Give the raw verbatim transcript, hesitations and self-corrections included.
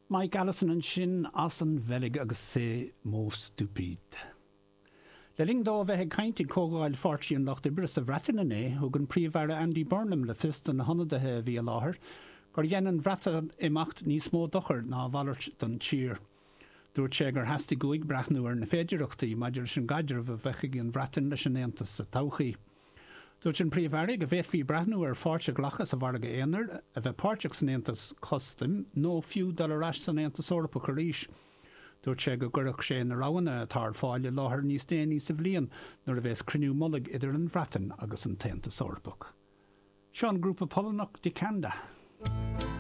Mike Allison ansin as an Bheilg agus Ces mots stupides. Le linn dó bheith ag caint ag comhdháil Pháirtí an Lucht Oibre sa Bhreatain inné, thug an Príomh-Aire Andy Burnham le fios do na hionadaithe a bhí i láthair, gur dhein an Bhreatimeacht níos mó dochair ná a mhalairt don tír. Dúirt sé gur theastaigh uaidh breathnú ar na féidearthachtaí maidir leis an gcaidreamh a bheadh ag an Bhreatain leis an Aontas sa todhchaí. Dúirt an Príomh-Aire go bhféadfaí breathnú ar pháirt a ghlacadh sa mhargadh aonair, a bheith páirteach san Aontas Custaim nó fiú dul ar ais san Aontas Eorpach arís. Dúirt sé go gcuirfeadh sé na roghanna atá ar fáil i láthair níos déanaí sa bhliain nuair a bheas cruinniú mullaigh idir an Bhreatain agus an tAontas Eorpach. Seo an grúpa Polannach Dikanda.